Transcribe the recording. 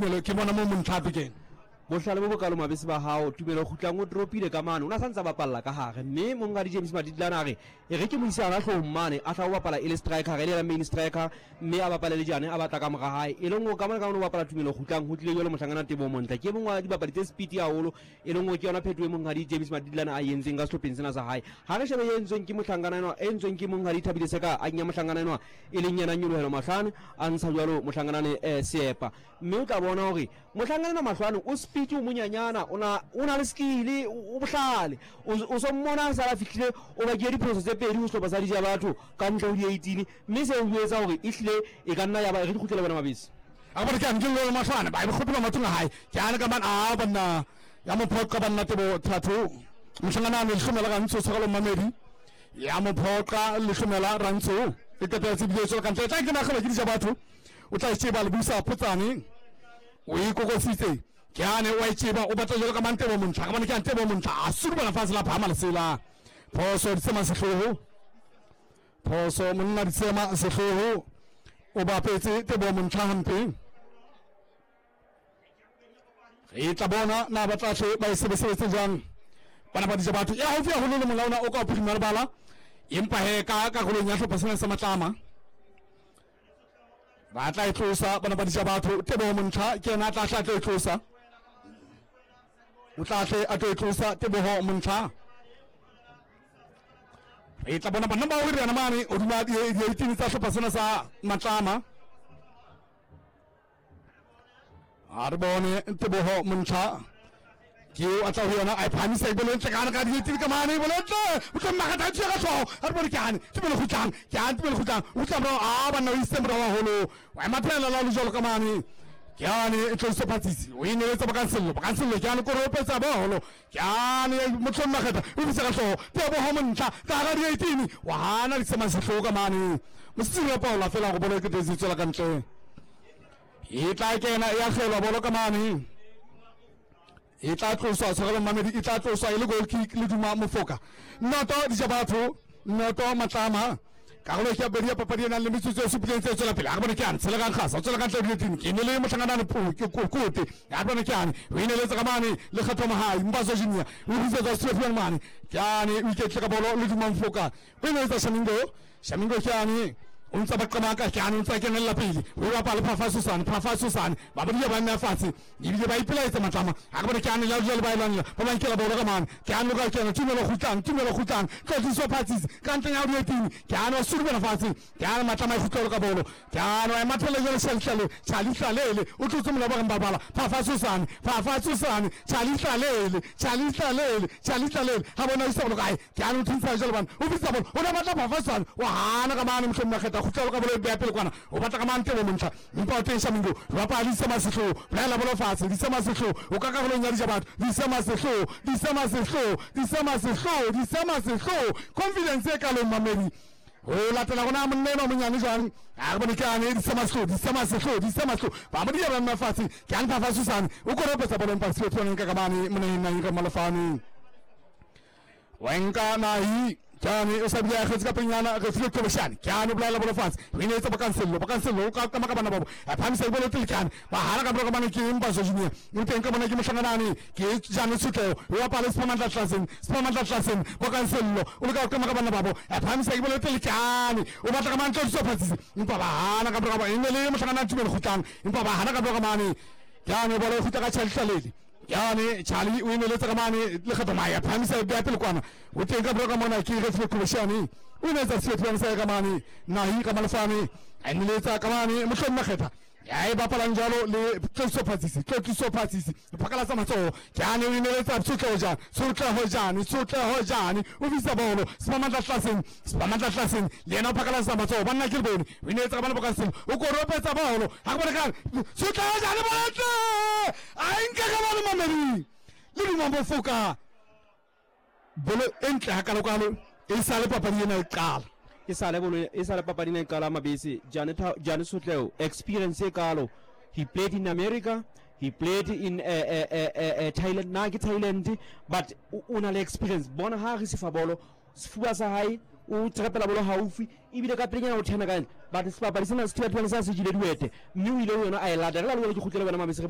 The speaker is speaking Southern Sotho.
Tumelo ke bona mo montlha a kena. Bohlale bo bokalo mabese ba hao Tumelo Kgutlang o dropile ka mane o na santsa bapalla ka hare mme monghadi James Maditlana a re e re ke mo ise hana hloohong mane a tla o bapala e le striker e le yena main striker mme a bapale le Jane a batla ka mora hae e leng o ka mona ka mona o bapala Tumelo Kgutlang ho tlile jwalo mohlangana Teboho Montle ke e mong wa dibapadi tse speed haholo e leng o ke yona phetoho e monghadi James Maditlana a entseng ka sehlopheng sena sa hae ha re shebe e entsweng ke mohlankana enwa e entsweng ke monghadi Thabile Seka a kenya mohlankana enwa e leng yena Nyolohelo Mahlane a ntsha jwalo mohlankana Seepa mme o tla bona hore mohlankana Mahlwane o speed o monyanyana o na le skill o bohlale o so mmona a sala fihlile o bakiye diphoso tse pedi ho sehlopha sa dija batho ka ntle ho di-18 mme seo o etsa hore e hlile e ka nna ya ba re di kgutlele bona mabese a bone ke ane ke lolo mahlwane ba e kgopela mathong a hae ke ane ka man a banna ya mo phoqa banna tebo thatho mohlangana a lehlomela gantsi o tshwarelo mamedi ya mo phoqa lehlomela rantso e qetela tse bile tswela kantle tla ke nagela ke dija batho o tla tseba le busa photsane o ikokositse ke ane o e tseba o batla jalo ka mantebo montlha ka bone ke antebo montlha a surubana fatshe la phama lesela phoso ditsema sehloho phoso monna ditsema sehloho o bapetse tebo montlha hampe re tla bona na ba tla hle ba e sebesebetse jang bana ba dija batho ya haufi haholo le molaona o ka bophirima lebala empa he ka karolong ya hlopha sena sa matlama ba tla e tlosa bana ba dija batho teboho montlha ke yena a tla hle a tlo e tlosa o tla hle a tlo e tlosa teboho montlha re tla bona banna bao re yana mane hodima di-eighteen tsa hlopha sena sa matlama a re bone teboho montlha ke eo a tla ho yona a e phahamisa e bolentle ka gare ga dietsedi ka mane e bolentle o tlo mmagatha a tšea ka tlhogo a re bone ke ane tumelo kgutlang ke ane tumelo kgutlang o tla morago a banna o isitse morago haholo wa ema phela la le jalo ka mane ke ane e tloise phatsitsi o e neletsa bokansello bokansello ke ane kore o petsa bolo ke ane motlhong makgetha o bitsa ka tlhogo tebogo montlha ka gara di-eighteen wa gana ditsemang setlhogo ka mane mosetsiri wa paola fela go bolo e ketetse e tswela ka ntle e tla kena e agelwa bolo ka mane e tla tloswa tshwarelo mamedi e tla tloswa e le goal kick le duma mofoka noto dija batho noto matlama karolo ke ya bobedi ya papadi e nang le metsotso e supileng tse tswela pele a re bone ke ane tshela ka nkgasa o tswela ka ntle dileteng ke ne le motlhanganane kote a re bone ke ane o ineletse ka mane le kgetho mohai mbaso junior o bisetsa sefiwang mane ke ane o iketle ka bolo le duma mofoka o ineletsa shamingo shamingo ke ane o ntse ba qamaka ke ane o ntse a kenelela pele o bapala phafa sosane phafa sosane ba bodile ba nna fatshe ebile ba ipelaetsa matlama a re bone ke ane la jale ba elwanela ba ba nkela bolo ka mane ke ane ka kena tumelo kgutlang tumelo kgutlang tlotliso phatsitse ka ntleng ya dietini ke ane wa surubela fatshe ke ane matlama e kgutlelo ka bolo ke ane wa emathele jale shalitlale chalitlalele o tlotse mola ba reng babala phafa sosane phafa sosane chalitlalele chalitlalele chalitlalele ga bona o isa bolo kae ke ane o thuntsa jalo bana o bitsa bolo o ne batla phafasane wa hana ka mane mohlomong makgetha kgutlelo ka bolo e beya pele kwana o batla ka mane tebo montlha empa o teng shamingo bapala di sema sehloho bolaela bolo fatshe di sema sehloho o ka karolong ya dija batho di sema sehloho di sema sehloho di sema sehloho di sema sehloho confidence e kalong mamedi o latela gona monna enwa monyane jwang a re bone ke ane di sema sehloho di sema sehloho di sema sehloho ba mo dia ba nna fatshe ke ane phafa sane o koropetsa bolo empa se tshwaneng ka kamane moneng nang ka malofane wenka nahi kyane o sa bile a kgetse ka penyana re file qobeshane kyane o bolaela bolo fatshe o inetse bokansello bokansello o ka kama ka bana babo a phamisa dibolo pele kyane ba hana ka bolo ka bana ke mbaso junior o teng ka bona ke mohlanganane ke jane tshotleo o bapale sephamantla tlaseng sephamantla tlaseng bokansello o leka go kama ka bana babo a phamisa dibolo pele kyane o batla ka mantlo di phatsise empa ba hana ka bolo ka e ne le mohlanganane tumelo kgutlang empa ba hana ka bolo ka mane kyane bolo e kgutla ka tšhalitlalele yane charlie o emeletse ka mane le kgetho maya phamisa bja pele kwana o teng ka bro ka mona ke ge file qhoboshiane o emeletsa seethiwane sa ka mane nahi ka malefane a emeletsa ka mane mohlong makgetha ya e bapalang jalo le tlotliso phatsisi tlotliso phatsisi phakalatsa matsogo ke ane o emeletsa tshotleho jane tshotleho jane tshotleho jane o fisa bolo sepamantla tlaseng sepamantla tlaseng le yena o phakalatsa matsogo banna ke le bone o emeletsa ka bana bokaseng o koropetsa bolo ga ke bone kang tshotleho jane boletle a e nke ka bana mameding le duma mofoka bolo e ntle hakalokalo e sa le papadi ena e qala e sa le bolo e sa le papadi ena e qala mabese Jane Jane Sotleo experience e kalo he played in America he played in Thailand na ke Thailand but o na le experience bona ha re sefa bolo sefuba sa hae o trepela bolo haufi ebile ka pelenyana o thena ka but sebapadi sena se thibathibane sa se jile diwete mme o ile ho yona a e lata re la le ke kgutlele bona mabese re